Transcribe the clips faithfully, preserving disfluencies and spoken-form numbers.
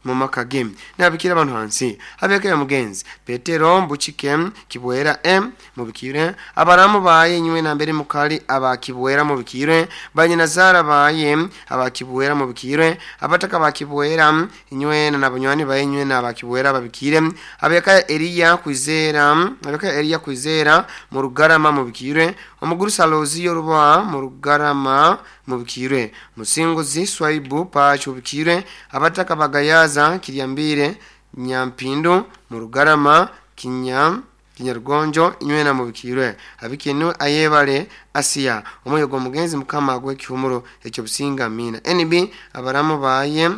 Mumaka ge nabikira abantu hansi abeka ya mugenzi Petero Mbuchike Kibwera M mubikire abaramu baye nywe na mbere mukali abakibwera mubikire banyina baye abakibwera mubikire abataka bakibwera nywe na nabanywani baye nywe na abakibwera babikire abeka Elia Kwizera abeka Elia Kwizera mu Rugarama mubikire omuguru Salozi Yoruba mu Rugarama mubikire Musinguzi Swaibu Pacho bikire abataka bagayaza Kiryambire Nyampindu mu Rugarama Kinya Kinyarugonjo inywena mubikirwe abikinu ayebale Asia omoyo go mugenzi mukama agwe kihumuro ekyo businga mina N B abaramu baye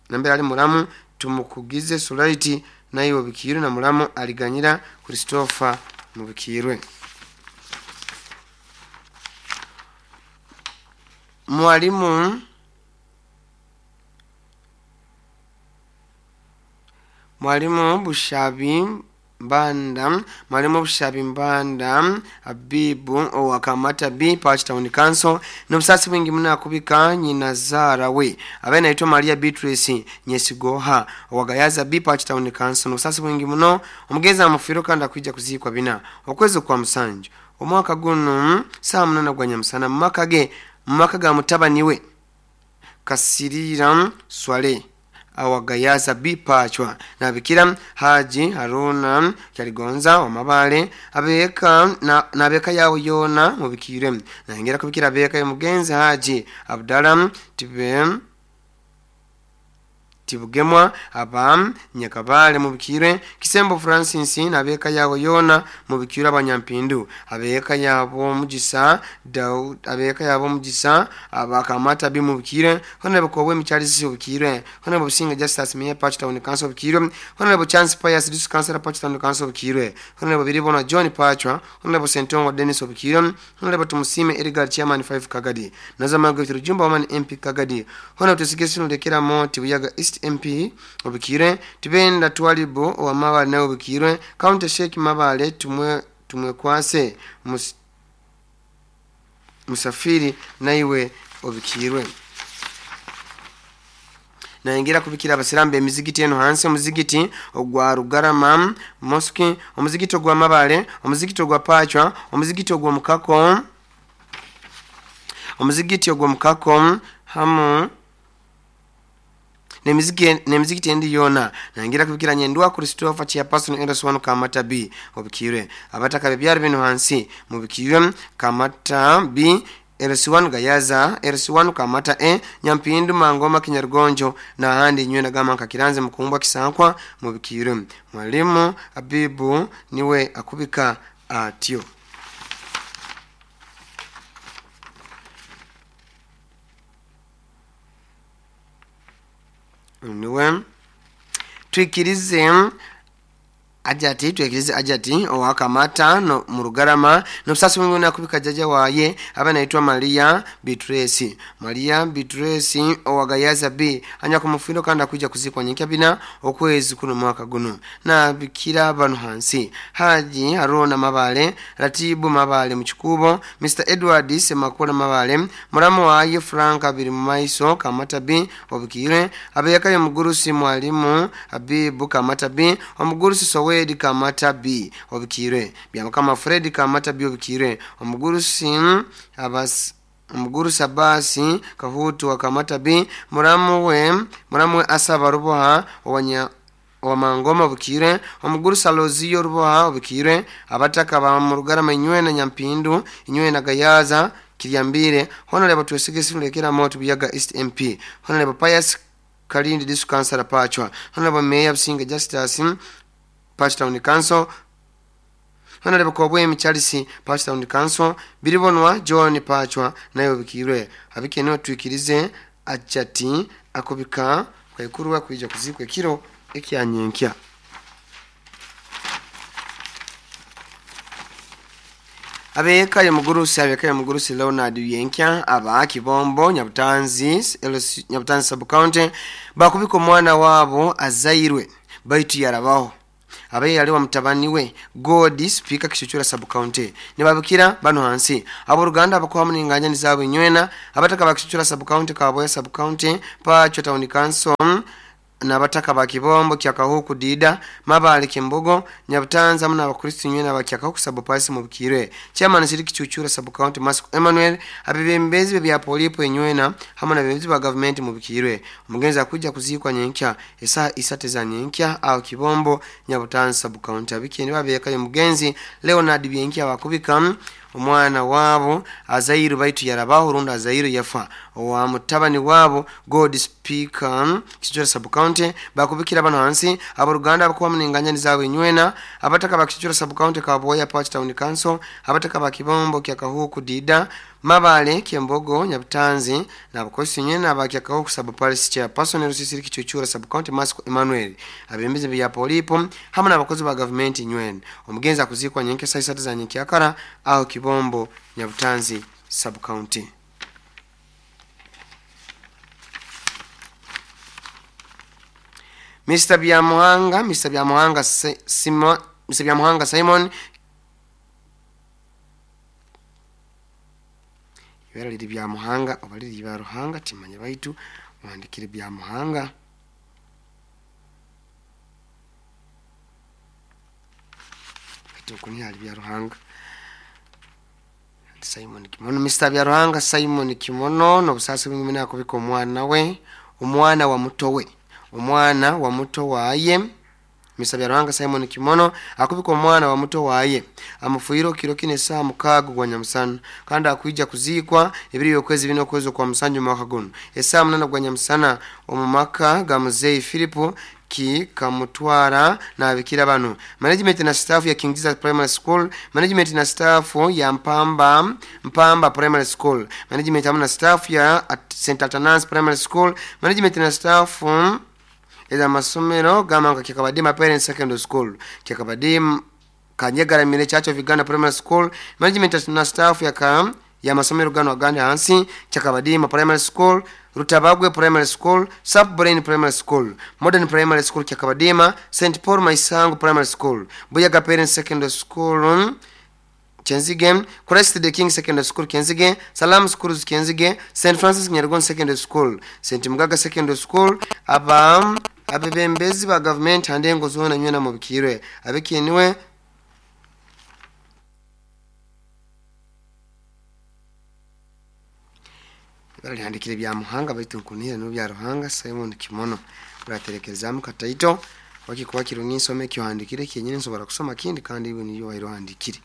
nambere ali muramu tumukugize Sulaiti nayo bikirwe na muramu aliganyira Christopher mubikirwe. Mwalimu Mwalimu Bushabi Mbanda Mwalimu Bushabi Mbanda Abibu owakamata B Patch Town Council n'obusasi bwingi muna kubika nyina Zara we abe naitwa Maria Beatrice Nyesigoha owagayaza B Patch Town Council n'obusasi bwingi muno omugeza amufiro kandi akwijja kuzikwa bina okwezi kwa musanju omwaka guno saa munana gwa nyamusana mumaka ge mumaka ga mutabani we Kasirira Swale awagayaza bipachwa nabikira Haji Haruna Kyaligonza wamabale abeka na nabeka yawo yona mubikire nangera kubikira abeka mugenzi Haji Abdallah tibe Tibugemwa aba Nyakabale mubikire Kisembo Francis nabeka yawo yona mubikira abanyampindu abeka yabo mugisa Daud abeka yabo mugisa abakamata bi mubikire honorable Kobwe Michalisi mubikire honorable Businga Justice Mayor Patch Town Council mubikire honorable Chance Pius District Councilor Patch Town Council mubikire honorable Biribona John Pachwa honorable Sentongo Dennis mubikire honorable Tumusime Edgar Chairman five Kagadi Nazama Gwitu Jumba Woman M P Kagadi honorable Tusigesino Lekera Moti Buyaga East M P obikire tibenda twalibo wa mabale na obikire County Sheikh Mabale tumwe tumwe kwase mus, musafiri naiwe obikirwe naingira kubikira abasirambe emizigiti eno hansi omuzigiti ogwa Rugarama Mosque omuzigiti ogwa Mabale omuzigiti ogwa Pachwa omuzigiti ogwa Mukako omuzigiti ogwa Mukako hamu nemiziki nemiziki endi yona nangira kubikira nyendwa Christopher Chairperson Anderson Kamata B obikire abataka bebyari bino hansi mubikire Kamata B L C one Gayaza L C one Kamata E Nyampindu Mangoma Kinyarugonjo na handi nywe na gama nkakiranze mukumbwa kisankwa mubikire Mwalimu Abibu niwe akubika atyo. Niwe twikirize ajati twikirize ajati owakamata no murugarama n'obusasi bwingi nakubika jaja waye aba naitwa Maria Beatrice Maria Beatrice owagayaza B anya kumufindo kandi akwijja kuzikwa nyenkya bina okwezi kuno mwaka guno na bikira bano hansi Haji Haruna Mabale Ratibu Mabale Muchikubo Mister Edward Semakula Mabale muramu waye Frank abiri mumaiso Kamata B obikire abeyakayo mugurusi mwalimu Abibu Kamata B omugurusi Sowe Fred Kamata B obikire byamukama Fred Kamata B obikire omugurusi abas omugurusi Abasi Kahutu wa Kamata B muramu we muramu we Asaba Ruboha owanya Wamangoma obikire omugurusi Aloziyo Ruboha obikire abataka ba Murugarama inywe na Nyampindu inywe na Gayaza Kiryambire honorable Twesigesi Lekera Moto Buyaga East M P honorable Pius Kalindi District Councilor Pachwa honorable Mayor Businga Justice Patch Town Council honorable Kobwe Charles Patch Town Council Biribonwa John Pachwa nayo bikirwe abikene twikirize achati akubika kwekuruwa kuija kuzikwe kiro ekyanyenkya. Abeka ya mugurusi abeka ya mugurusi Leonard Yenkya aba Kibombo Nyabutanzi Nyabutanzi sub county bakubika omwana wabo azairwe baitu yarabaho abe yaliwa mutabani we God Speaker Kishuchura sub county nibabikira bano hansi abo Ruganda abakoha muninganya nizabo nywena abataka bakishuchura sub county Kaboya sub county Pacho Town Council N'abataka ba Kibombo kya Kahuku Dida Mabale Kimbogo Nyabutanza hamwe n'abakristo nywe n'abakyakahuku sub-parish mu Bukirwe. Chairman Siriki Chuchura sub county Masiko Emmanuel, abebembezi bya polipo enywena hamwe n'abebembezi ba gavumenti mu Bukirwe. Omugenzi akujja kuziikwa nyenkya esaha isatu za nyenkya aho Kibombo Nyabutanza sub county. Abikeni babekayo omugenzi Leonard Byenkya wakubika omwana wabo azairu baitu yarabaho rundi azairu yafa owa mutabani wabo God Speaker Kichura sub county bakubikira bano hansi aboluganda abakuba munenganya zaabwe enywena abataka ba Kichura sub county Kaboya Park Town Council, abataka ba Kibombo kya Kahuku Dida Mabale Kyembogo Nyabutanzi n'abakozi nywena abakya Kahuku sub parish chairperson Rusisiri Kichuchura sub county Masiko Emmanuel, abembezi bya polipo hamwe n'abakozi ba gavumenti nywena. Omugenzi akuzikwa nyenke saa isatu za nyenkyakara aho Kibombo Nyabutanzi sub county. Mister Byamuhanga, Mister Byamuhanga Simon, Mister Byamuhanga Simon ibara liri Byamuhanga oba liri Byaruhanga timanya baitu wandikire Byamuhanga. Baitu kuni ali Byaruhanga Simon Kimono. Mister Byaruhanga Simon Kimono n'obusasi bwingi nakubika omwana we, omwana wa muto we, omwana wa muto waye. Mister Byaruhanga Simon Kimono akubika omwana wa muto waye amufuiro kiro kine saa mukaaga gwa nyamusana kandi akuija kuziikwa ebiri okwezi bino okwezi kwa musanju mwaka guno esaa munana gwa nyamusana omu maka ga muzeyi Philip ki kamutwara n'abikira bano management na staff ya King Jesus Primary School, management na staff ya Mpamba Mpamba Primary School, management hamwe na staff ya Saint Athanasius Primary School, management na staff eza masomero gama nga Kyakabadima Parents Secondary School, Kyakabadima Kanyagaramire Church of Uganda Primary School, management na staff ya ka ya masomero gano agandi hansi Kyakabadima Primary School, Rutabagwe Primary School, South Brain Primary School, Modern Primary School Kyakabadima, Saint Paul Maisango Primary School, Buyaga Parents Secondary School Kenzige, Christ the King Secondary School Kenzige, Salam Schools Kenzige, Saint Francis Nyarugon Secondary School, Saint Mugaga Secondary School, aba abebembezi ba government handengo zona nywena mu Bukirwe abekeniwe balihandikire bya Muhanga baitu nkunira no bya Ruhanga Simon Kimono uraterekerezamu kataito wakikuwa kirungi nsome kyohandikire kyenyine nsobora kusoma kindi kandi iwe niyo wairohandikire.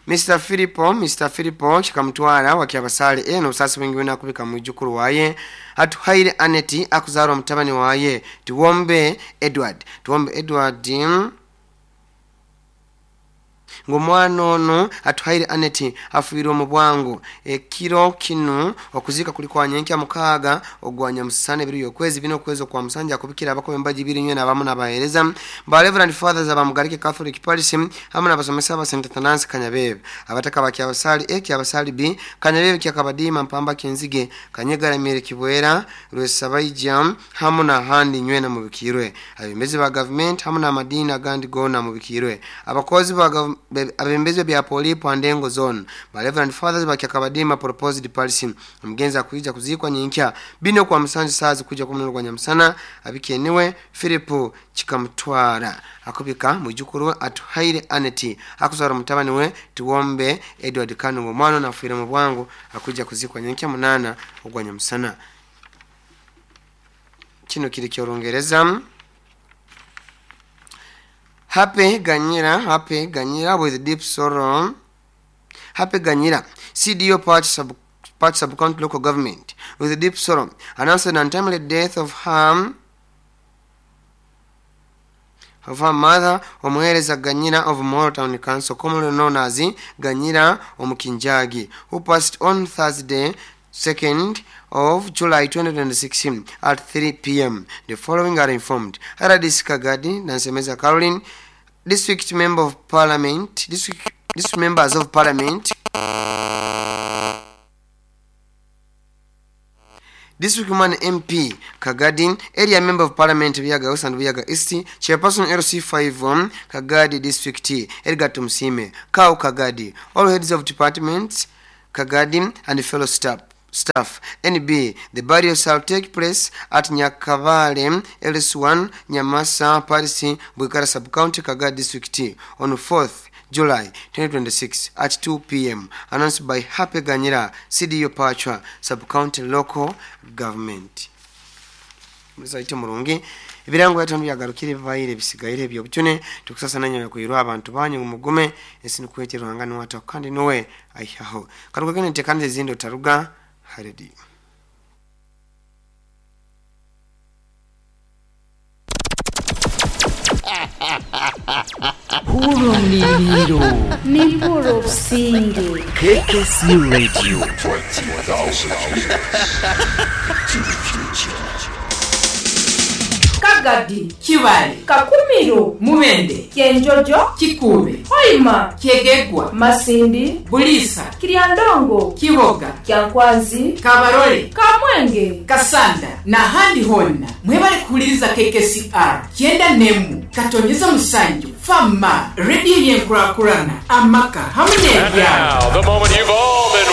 Mister Philipo, Mister Philipo chikamutwara wakyabasale eno obusasi bwingi bwina kubika mwijukuru waye atuhaire Aneti akuzarwa mutabani waye Tuwombe Edward. Tuwombe Edward ng'omwana ono atuhaire Aneti afuirwe mu bwangu ekiro kinu okuzika kuli kwa nyenkya mukaaga ogwa nyamusana ebiri y'okwezi bino okwezi okwa musanja akubikira abakoba embaji ibiri nywe n'abamu n'abaheereza ba Reverend Fathers abamugarike Catholic Parish hamwe n'abasomesa ba Saint Athanasius Kanyabebe abataka ba Kyabasali A Kyabasali B Kanyabebe Kyakabadima Mpamba Kenzige Kanyagaramire Kibwera Rwesabaija hamwe n'ahandi nywe na mu Bukirwe abembezi ba government hamwe n'amadini agandi gona mu Bukirwe abakozi ba abembezi bya polipo andengo zone ba Reverend Fathers ba Kyakabadima proposed parish omugenzi akuija kuzikwa nyenkya bino kwa musanju saazi kuja kumuna gwa nyamusana abikeniwe Philip Chikamutwara akubika mwijukuru atuhaire Aneti akuzara mutabani we Tuwombe Edward Kanu omwana nafuire mu bwangu akuija kuzikwa nyenkya munana ogwa nyamusana. Kino kiri ky'Olungereza. Happy Ganyira, Happy Ganyira with deep sorrow. Happy Ganyira, C D O Park sub Park Sub County Local Government, with deep sorrow, announced the untimely death of her of her mother, Omuhereza Ganyira of Moro Town Council, commonly known as Ganyira Omukinjagi, who passed on Thursday, second of July twenty twenty-six at three p m The following are informed: Haradis Kagadi, Nansemeza Caroline, District Member of Parliament, District, District Members of Parliament, District Woman M P Kagadi, Area Member of Parliament Buyaga West and Buyaga East, Chairperson L C five um, Kagadi District, Edgar Tumsime, Kau Kagadi, all heads of departments, Kagadi and fellow staff. staff. N B. The burial shall take place at Nyakabale, L S one, Nyamasa, Paris, Bwikara Sub-County, Kaga District on fourth July twenty twenty-six at two p m. Announced by Happy Ganyira, C D O Pachwa Sub-County Local Government. Musaite murungi, ebirango byatano byagarukire bibaire bisigaire ebyobujune. Tukusasa nanya kuirwa abantu banyu mugume ensi nikwete Ruhanga niwata kandi niwe aihaho karugagene ntekanize ezindi otaruga haredi. Hurumliliro. Nimpura obusinge. K K C Radio. twenty thousand years to the future. Kagadi, Kibale, Kakumiro, Mubende, Kyenjojo, Kikuube, Hoima, Kyegegwa, Masindi, Buliisa, Kiryandongo, Kiboga, Kyankwanzi, Kabarole, Kamwenge, Kasanda n'ahandi honna mwebale kuhuliriza K K C R kyenda nemu katonyeza musanju fama rediyo y'enkurakurana amaka hamwe n'ebyalo. Now, the moment you've all